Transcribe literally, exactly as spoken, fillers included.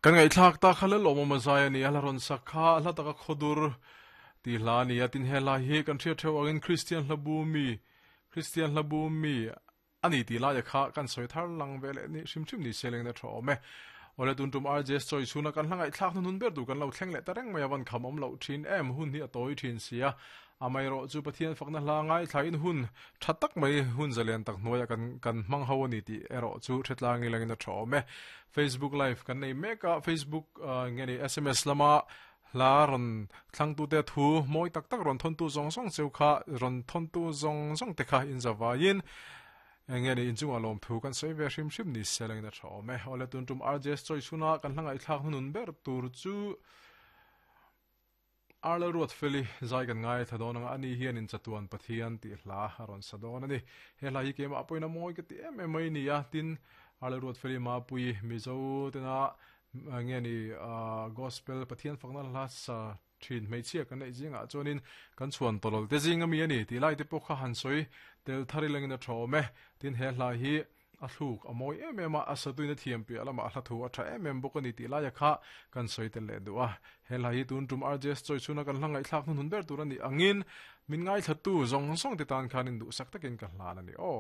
Kan ngai thlak ta kha le lawm awm zai ani a ron sakha hla taka khodur ti hla ni a tin he lai hi kan thria theu angin Christian hlabu mi Christian hlabu mi ani ti lai kha kan soi thar lang vele ni hrim hrim ni seleng na tho me ole tun tum R J choi chuna kan hlangai thlak nun ber du kan lo thleng le tareng mai awan kham om lo thin em hun hi atoi thin sia amai ro chu Pathian fakna hla ngai thlain hun thatak mai hun zalen tak noya kan kan mang ho ani ti ero chu thetlang ilangin a tho me Facebook live kan nei meka Facebook nge ni S M S lama la ron thlang tu te thu moi tak tak ron thon tu zong zong cheu kha ron thon tu zong zong te kha in zawain nge ni inchunga lom thu kan sei ve hrim hrim ni seleng na tho me ole tun tum R J S choi chuna kan hlangai thlak hunun ber tur chu Arla Ruat Feli zai kan ngai thadon anga ani hian in chatuan Pathian ti hla ron sadon ani he hla hi kema apoina moi ke ti em em mai ni a tin Arla Ruat Feli ma pui mizo tena nge ni gospel Pathian fakna hla sa thin mei chia kan nei zinga chuanin kan chuan tolol te zinga mi ani ti lai te pawh kha han soi tel thari langin a tho me tin he hla hi a thluk a moi em em a asatuina thiam pi alama a hla thu a tha em em bawk ani ti lai a kha kan soi tel le du a he hla hi tun tum R J S choi chuna kan hlangai thlak nun hun ber tur ani angin min ngai thla tu zong zong te tan khanin du sak takin ka hlan ani o.